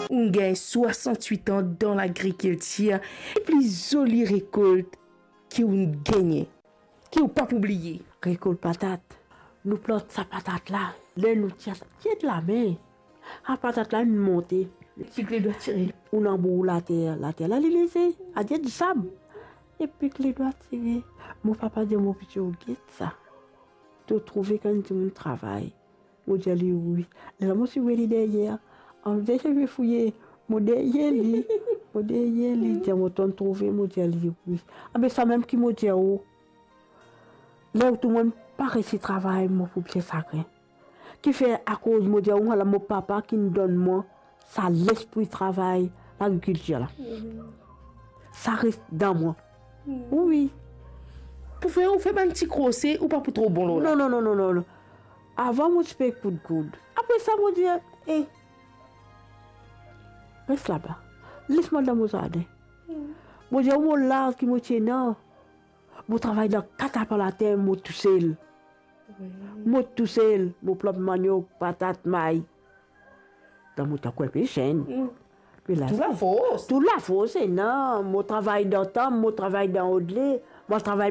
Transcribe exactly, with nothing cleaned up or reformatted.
Ou gagn swasant-wit an dan lagrikiltir, e pli zoli rekolt ki ou gagne, ki ou pa pou bliye? Rekolt patat. Nou plant sa patat la, ler nou tir, tir lame, sa patat la inn monte. Pik ledwa tire. Ou anbour later, later la li leze, adir disab. E pik ledwa tire. Mo papa dir mo, piti, ou get sa. To trouve kan dimoun travay? Mo dir li wi. Lerla mo ti wet li deryer. An deryer mo fouye, mo deryer li. Mo deryer li, dir mo, to'nn trouve? Mo dir li wi. Abe sa mem ki mo dir ou. Ler ou tou mo'nn pa resi travay, mo pou bien sagrin. Kifer? Akoz mo dir ou, ala mo papa ki'nn donn mwa sa lespri travay lagrikiltir la. Sa res dan mwa. Wi. Pou fer ou fer bann ti krose, ou pa pou tro bon lor la. Non, non, non, non, non, non. Avan mo ti pe koud koud. Apre sa mo dir, e, res laba. Les mwa dan mo zardin. Mo dir ou, mo laz ki mo ti ena, mo travay dan kat lapin later, mo tousel. Mo tousel, mo plant maniok, patat, may. Dan mo tan kouma pe zenn. Tou lafors. Tou lafors ena, mo travay dan tanp, mo travay dan odle, mo travay